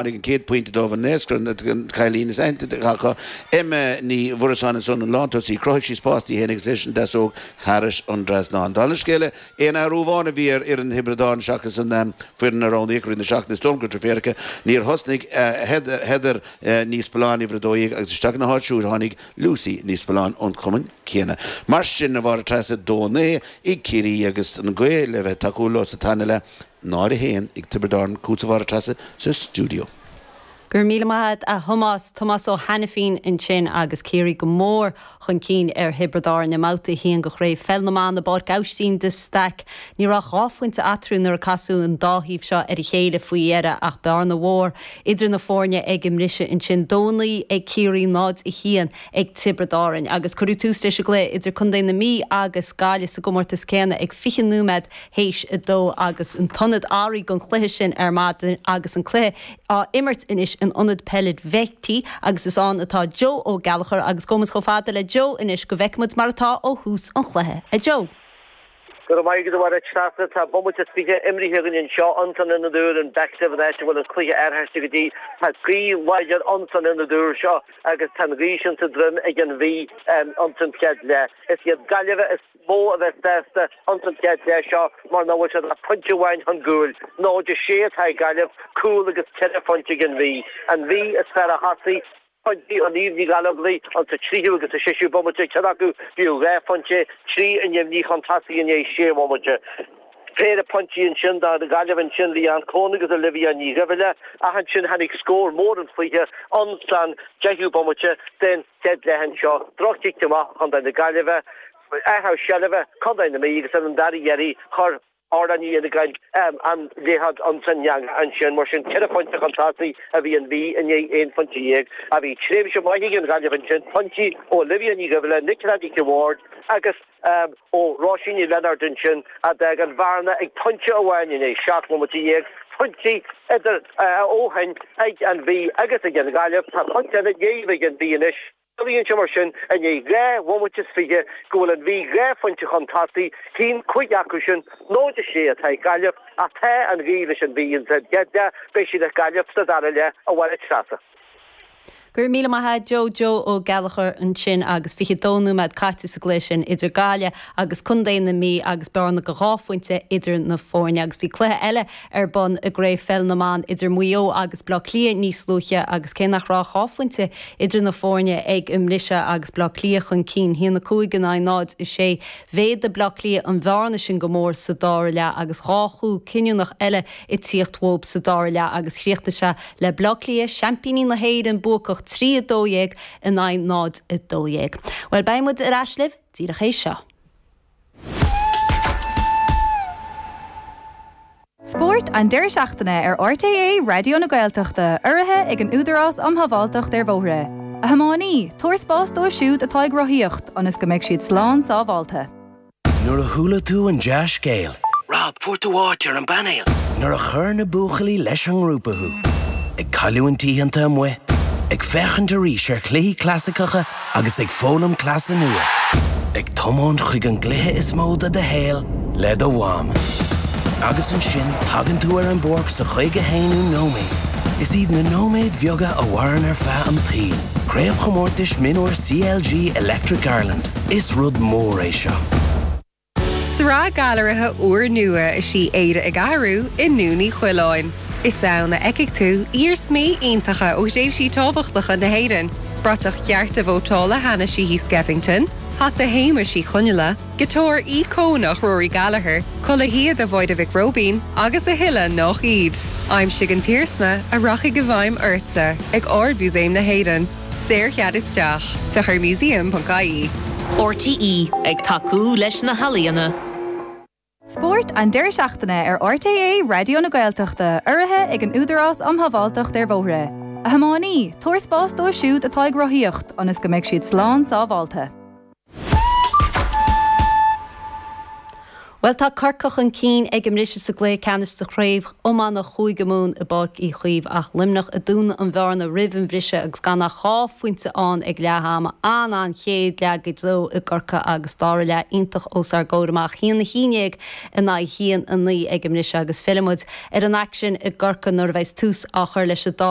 Tháinig an chéad phointe dóibh, an naoscaire, an cailín is aitheanta acu, Emma Ní Mhuireasáin ansan, an lántosaí. Chruthaigh sí spás di féin agus leis an deasóg thairis an dtrasnán. Dála an scéil, aon athrú amháin a bhí ar fhoireann Thiobraid Árann seachas an foireann a roghnaíodh i rith na seachtaine, is dóigh liom gur deirfiúr aici, níor thosnaigh Heather Ní Spealáin, uimhir 12, agus isteach ina háit siúd tháinig Lucy Ní Spealáin ón chumann céanna. Mar sin, a Mháire Treasa, 2-9 ag Ciarraí agus an ghaoth le bheith tacúil leo sa tarna leath. 0-1 ag Tiobraid Árann, chugatsa a Mháire Treasa sa stiúideo. Go raibh míle maith agat a Thomáis. Tomás Ó hAiniféin ansin agus Ciarraí go mór chun cinn ar Thiobraid Árann i mBabhta 1 de Chraobh Pheil na mBan i bPáirc Aibhistín de Staic. Ní raibh ach dhá phointe eatarthu nuair a casadh an dá thaobh seo ar a chéile faoi dheireadh ach bearna mhór idir na foirne ag an mbriseadh ansin. 2-9 ag Ciarraí, 0-1 ag Tiobraid Árann agus cuireadh tús leis an gcluiche idir Contae na Mí agus Gaillimh sa gcomórtas céanna ag 20 nóiméad théis a dó agus an t-ionad athraithe don chluiche sin ar maidin agus an cluiche á imirt anois in Ionad Peile Bheicí agus is ann atá Joe Ó Gallchóir agus gabhfaidh muid chomh fada le Joe anois go bhfeicfidh muid mar atá ó thús an chluiche. A Joe. Go raibh maith agat a Mháire Treasa. Tá bomaite is 20 imrithe againn anseo ins an ionad úr in Bective an áit a bhfuil an cluiche athraithe go dtí. Tá gaoth láidir ins an ionad úr seo agus tá an ghaoth sin sa droim ag an Mhí ins an chéad leath. Is iad Gaillimh is mó a bheas sásta ins an chéad leath seo mar nach bhfuil siad ach pointe amháin chun cúil. 0-6 atá ag Gaillimh, cúl agus ceithre phointe ag an Mhí. An Mhí is fearr a thosaigh, pointí ó Niamh Ní Ghallchobhair ins an tríú agus sa seisiú bomaite, ceann acu b'fhiú dhá phointe, trí ainmní chun tosaigh i ndiaidh sé bhomaite. Péire pointí ansin do Ghaillimh ansin, Leanne Coen agus Olivia Ní Dhuibhile, ach ansin tháinig scór mór an chluiche ins an deichiú bomaite den chéad leath anseo. Droch-chic amach Chontae na Gaillimhe, athrú seilbhe Contae na Mí agus ar an dara iarraidh chuir Orla Ní Fhinneagáin an liathróid ins an eangach ansin. Mar sin, ceithre phointe chun tosaigh a bhí an Mhí i ndiaidh aon phointe dhéag. Ach bhí tréimhse maith ag an Ghaillimh ansin, pointí ó Olivia Ní Dhuibhile, Nicola Nic a' Bhaird agus ó Róisín Ní Lionáird ansin a d'fhág an bhearna ag pointe amháin i ndiaidh 17 nóiméad. Pointí idir ó shin ag an Mhí agus ag an Ghaillimh. Tá pointe eile déag ag an Mhí anois. Ciallaíonn sé mar sin, i ndiaidh 2 bhomaite is 20, go bhfuil an Mhí dhá phointe chun tosaigh, haon 5 acu sin, 0-6 atá ag Gaillimh, ach tá an ghaoth leis an Mhí insa gcéad leath, beidh sí le Gaillimh sa dara leath, a Mháire Treasa. Go raibh míle maith a't Joe, Joe Ó Gallchóir ansin agus 22 nóiméad caite sa gcluiche sin idir Gaillimh agus Contae na Mí agus bearna de dhá phointe idir na foirne. Agus bhí cluiche eile ar bun i gCraobh Pheil na mBan idir Maigh Eo agus Bleá Cliath níos luaithe agus cé nach raibh ach dhá phointe idir na foirne ag an mbriseadh agus Bleá Cliath chun cinn, 1-5 in aghaidh 0-6, mhéadaigh Bleá Cliath an bhearna sin go mór sa dara leath agus dhá chúl cinniúnach eile ag tíocht uathu sa dara leath agus chríochnaigh sé le Bleá Cliath, seaimpíní na hÉireann, buacach 3-12 in aghaidh 0-12. Bhuel, beidh muid ar ais libh díreach théis seo. Spórt an deireadh seachtaine ar RTÉ Raidió na Gaeltachta, urraithe ag an Údarás um Shábháilteacht ar Bhóithre. A thiománaí, tabhair spás dóibh siúd atá ag rothaíocht ionas go mbeidh siad slán sábháilte. Nuair a chuala tú an dea-scéal. Rob, fuair tú áit ar an bpainéal! Nuair a chuir na buachaillí leis an ngrúpa thú. Ag cailliúint oícheanta amuigh, ag féachaint arís ar chluichí clasaiceacha agus ag foghlaim cleasa nua. Ag tiomáint chuig an gcluiche is mó de do shaol le do mham. Agus ansin tagann tú ar an bpáirc sa 51ú nóiméad. Is iad na nóiméid bheaga a mhaireann ar feadh an tsaoil. Craobhchomórtais Mionúir CLG Electric Ireland. Is rud mór é seo. Sraith gailearaithe úrnua is í Éire ag Athrú i nDún Uí Choileáin. Is ann a fheicfidh tú iarsmaí iontacha ó thréimhsí tábhachtacha na hÉireann, bratach chearta vótála Hanna Sheehy Skeffington, hata Shéamuis Uí Chonghaile, giotár íocónach Rory Gallagher, culaith shíoda Mháire Mhic Róibín agus a thuilleadh nách iad. Aimsigh an t-iarsma a rachaidh i bhfeidhm ortsa ag Ard-Mhúsaem na hÉireann. Saorchead isteach. Féach ar museum.ie. RTÉ, ag tacú leis na healaíona. Spórt an deireadh seachtaine ar RTÉ Raidió na Gaeltachta, urraithe ag an Údarás um Shábháilteacht ar Bhóithre. A thiománaí, tabhair spás dóibh siúd atá ag rothaíocht ionas go mbeidh siad slán sábháilte. Bhuel, tá Corcaigh chun cinn ag an mbriseadh sa gcluiche ceannais de chraobh iomána Chúige Mumhan i bPáirc Uí Chaoimh ach Luimneach ag dúnadh an bhearna roimh an bhriseadh agus gan ach 2 phointe ann ag leath ama. An-an-chéad leath go deo i gCorcaigh agus dara leath iontach os ár gcomhair amach. 1-11 in aghaidh 1-9 ag an mbriseadh agus fillfidh muid ar an aicsean i gCorcaigh nuair a bheas tús á chur leis an dara.